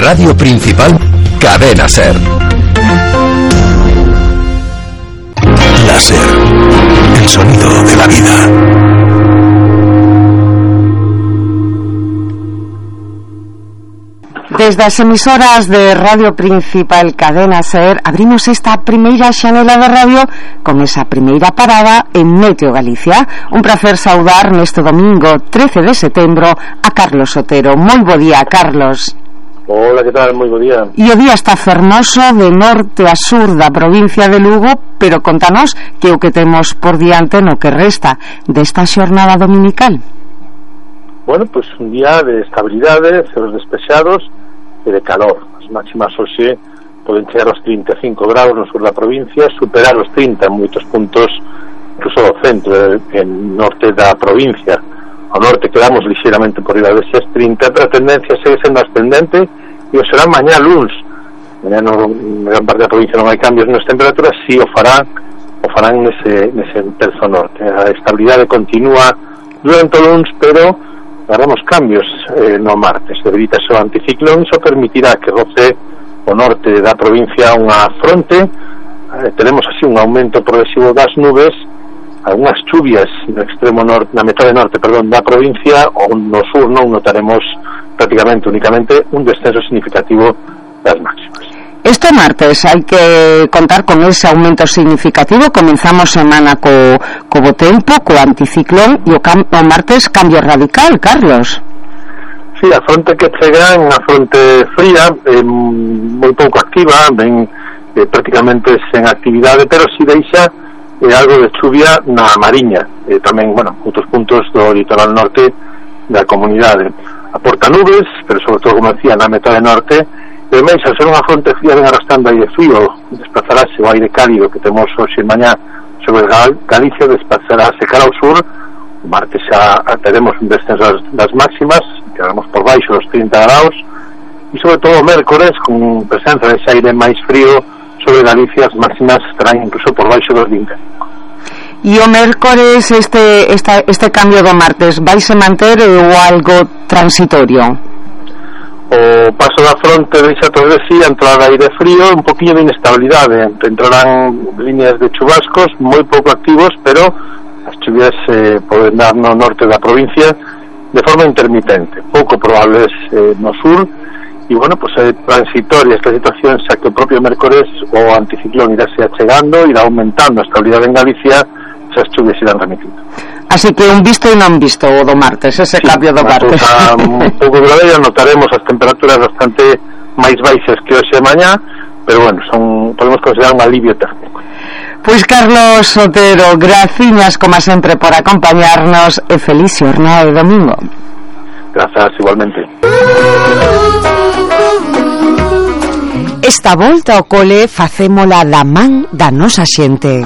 Radio Principal, Cadena SER. La SER, el sonido de la vida. Desde as emisoras de Radio Principal Cadena SER abrimos esta primeira xanela de radio con esa primeira parada en Meteo Galicia. Un placer saudar neste domingo 13 de setembro a Carlos Otero. Moi bo día, Carlos. Hola, que tal? Moi bo día. E o día está fermoso de norte a sur da provincia de Lugo, pero contanos que o que temos por diante no que resta desta xornada dominical. Bueno, pues un día de estabilidade, ceros despexados e de calor. As máximas hoxe poden chegar aos 35 graus no sur da provincia, superar os 30 en moitos puntos, incluso ao centro e norte da provincia. Ao norte quedamos lixeiramente por riba deses 30, pero a tendencia segue sendo ascendente e o será mañá luns. Mañá na gran parte da provincia non hai cambios nas temperaturas, si o farán nese terzo norte. A estabilidade continúa durante o luns, pero haremos cambios no martes. Debilítase o anticiclón, iso permitirá que roce o norte da provincia unha fronte. Tenemos así un aumento progresivo das nubes, algunhas chuvias no extremo norte, na metade norte, da provincia, ou no sur non notaremos prácticamente únicamente un descenso significativo das máximas. Este martes hai que contar con ese aumento significativo. Comenzamos semana co bo tempo, co anticiclón, e o martes cambio radical, Carlos. Sí, a fronte que chega é unha fronte fría, moi pouco activa, ben prácticamente sen actividade, pero si deixa algo de chuvia na Mariña, tamén, outros puntos do litoral norte da comunidade. Aporta nubes, pero sobre todo, como decía, na metade norte. E máis, ao ser unha fronte fría, ven arrastrando aire frío, desplazarase o aire cálido que temos hoxe e mañá sobre Galicia, desplazarase cara ao sur. O martes xa teremos un descenso das máximas, quedaremos por baixo dos 30 graus, e sobre todo o mércores, con presenza dese aire máis frío sobre Galicia, as máximas estarán incluso por baixo dos 25. E o mércores, este cambio do martes, vaise manter ou algo transitorio? O paso da fronte deixa todo de si a entrada de aire frío, un poquinho de inestabilidade. Entrarán líneas de chubascos moi pouco activos, pero as chuvias poden dar no norte da provincia de forma intermitente, pouco probables no sur. E pues é transitoria esta situación, xa que o propio mércores o anticiclón irá se achegando, irá aumentando a estabilidade en Galicia, esas chuvias irán remitindo. Así que un visto e non visto o do martes, ese cambio do martes. Un pouco grave, notaremos as temperaturas bastante máis baixas que hoxe e mañá, pero podemos considerar un alivio térmico. Pois Carlos Otero, graciñas como sempre por acompañarnos e feliz xornada de domingo. Grazas, igualmente. Esta volta ao cole facémola da man da nosa xente.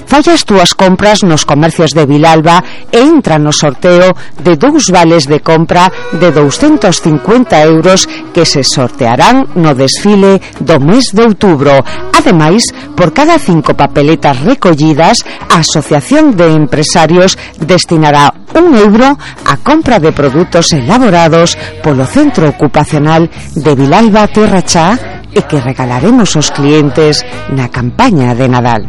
Fai as túas compras nos comercios de Vilalba e entra no sorteo de 2 vales de compra de 250 euros que se sortearán no desfile do mes de outubro. Ademais, por cada 5 papeletas recollidas, a Asociación de Empresarios destinará 1 euro a compra de produtos elaborados polo Centro Ocupacional de Vilalba Terra Chá e que regalaremos aos clientes na campaña de Nadal.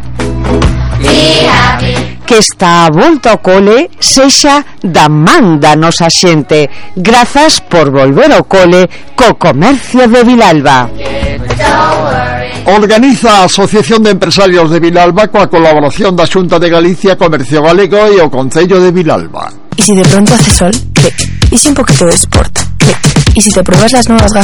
Que esta volta ao cole sexa da man da nosa xente. Grazas por volver ao cole co comercio de Vilalba. Organiza a Asociación de Empresarios de Vilalba coa colaboración da Xunta de Galicia, Comercio Galego e o Concello de Vilalba. ¿Y si de pronto hace sol? ¿Qué? ¿Y si un poquito de sport? ¿Qué? ¿Y si te pruebas las nuevas gafas